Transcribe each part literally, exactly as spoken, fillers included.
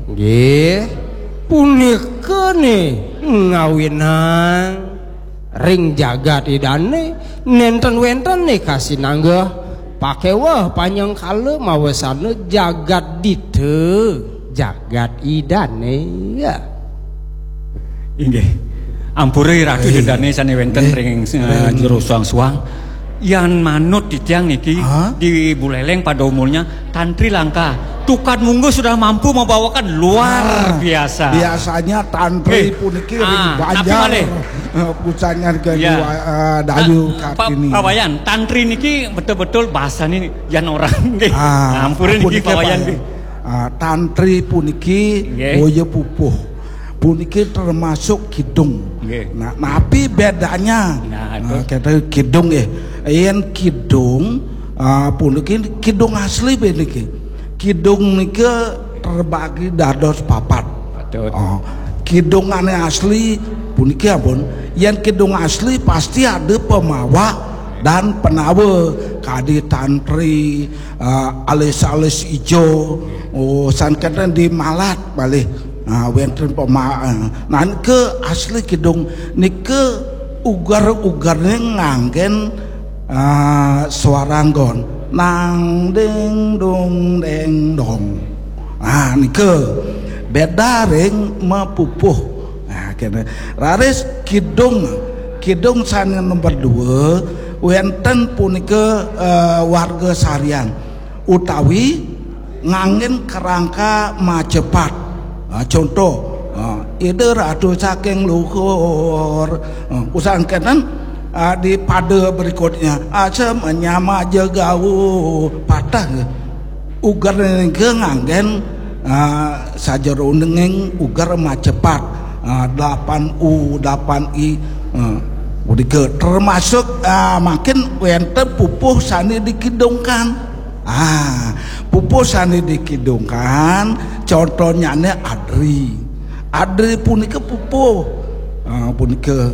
Nggih, punika nih ngawinang ring jagat Idane, nenten wenten nih kasinanggeh pakeweh panjang kala mawesana jagat dita, jagat Idane. Ya. Inggih. Ampura Ratu Inggih. Idane sane wenten Inggih. Ring, eh, Ring. Jero suang-suang. Yan manut titiang niki Ha? Di Buleleng pada umurnya Tantri Langka. Tukad Mungguh sudah mampu membawakan luar Ah, biasa. Biasanya tantri Eh, puniki ring ah, tapi Banjar. Malih. Eh, pucangan ke Ya. Dua, eh, Dayu Ah, Pa-, Kartini. Pak Wayan, tantri niki betul-betul bahasane yan orang nggih. Ah, Ampura niki puniki, Pak Wayan Pak. Nggih. Ah, tantri puniki Nggih. Boya pupuh. Puniki termasuk kidung. Nggih. Nah, napi bedanya? Nah, itu. Nah, kita kidung nggih. Yen kidung, ah, puniki kidung asli puniki. Kidung nika terbagi dados papat. Patut. Oh, kidung ane asli puniki ampun. Yen kidung asli pasti ada pemawa dan penawa kadi tantri, ah, alis-alis ijo, oh, sangkatan di malat malih. Ah, wenten pema-, ah, nah, nika asli kidung nika uger-ugerne nganggen, ah, suara anggon. Nang ding dong deng dong. Ah, nika beda ring mapupuh. Nah, kene. Raris kidung, kidung sane nomor dua, wenten punika, eh, warga sarian utawi nganggen kerangka macepat. Ah, contoh, ah, Ida Ratu saking luhur. Ah, usangkenen, ah, di pada berikutnya, asa menyama jegau patah. Uger nika nganggen, ah, sajeroning uger macepat, ah, delapan U, delapan I, ah, punika termasuk, ah, makin wenten pupuh sane dikidungkan. Ah, pupuh sane dikidungkan, contohnyane adri. Adri punika pupuh. Ah, punika,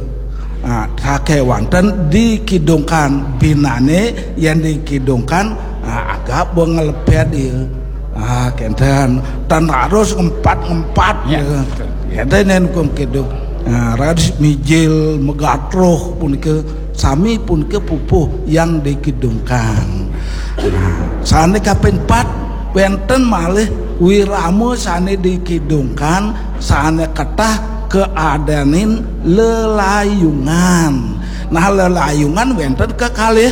ah, sakewanten dikidungkan binane, yen dikidungkan, ah, agak bengelepet ya. Ah, kenten. Tan harus ngempat-ngempat Ya, ya. Betul. Kenten yen hukum kidung. Ah, raris mijil megatruh punika sami punika pupuh yang dikidungkan. Nah, sane kaping pat, wenten malih wirama sane dikidungkan, sane ketah keadanin lelayungan. Nah, lelayungan wenten kekalih,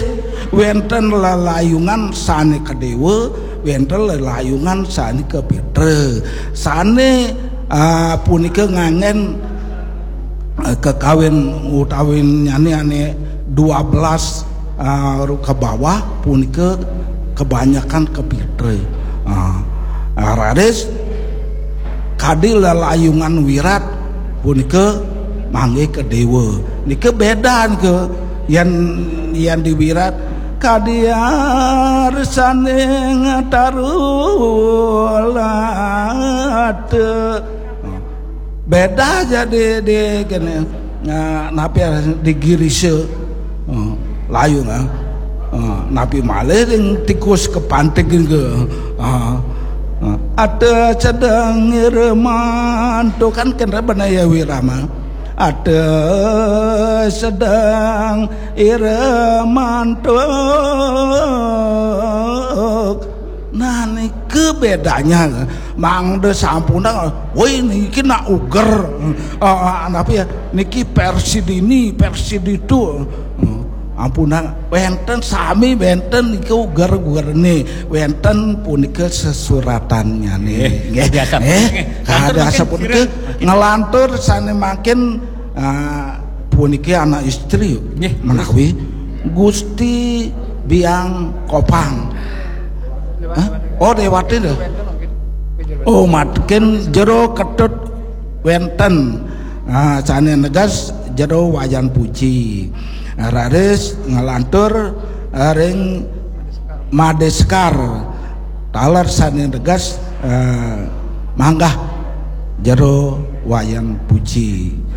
wenten lelayungan sane kedewa, wenten lelayungan sane kepitra. Sane, ah, punika nganggen, eh, kekawin utawi nyane ane dua belas, ah, ke bawah punika kebanyakan kepitra. Ah, ah, raris kadi lelayungan wirat punika manggihin dewa. Nika beda nika yen, yen di wirat kadi arsaning tarulata. Beda jadi di kene, nah, napi di girisa. Hmm, layu, nah. Hmm, napi malih ring tikus kepantik ke. Ah, ah. Ada sedang irmanto kan kena bana ya wirama. Ada sedang irmanto. Nah, nika bedanya. Mangda sampunang, woi, niki nak uger. Ah, ah, napi ya? Niki versi dini, versi ditu. Hmm, ampunang, wenten sami, wenten niki uger-ugerne, wenten punika sesuratannyané. Nggih, nggih. Biasa. Eh, nggih. Kada mangkin asa punika sira ngelantur sane mangkin, ah, puniki anak istri. Nggih, menawi Gusti Biang Kopang. Hah? Oh, Dewati lho. Oh, mangkin Jero Ketut wenten. Ah, sane neges Jero Wayan Puji. Raris ngelantur, ah, ring Madeskar. Taler sane neges, ah, manggah Jero Wayan Puji.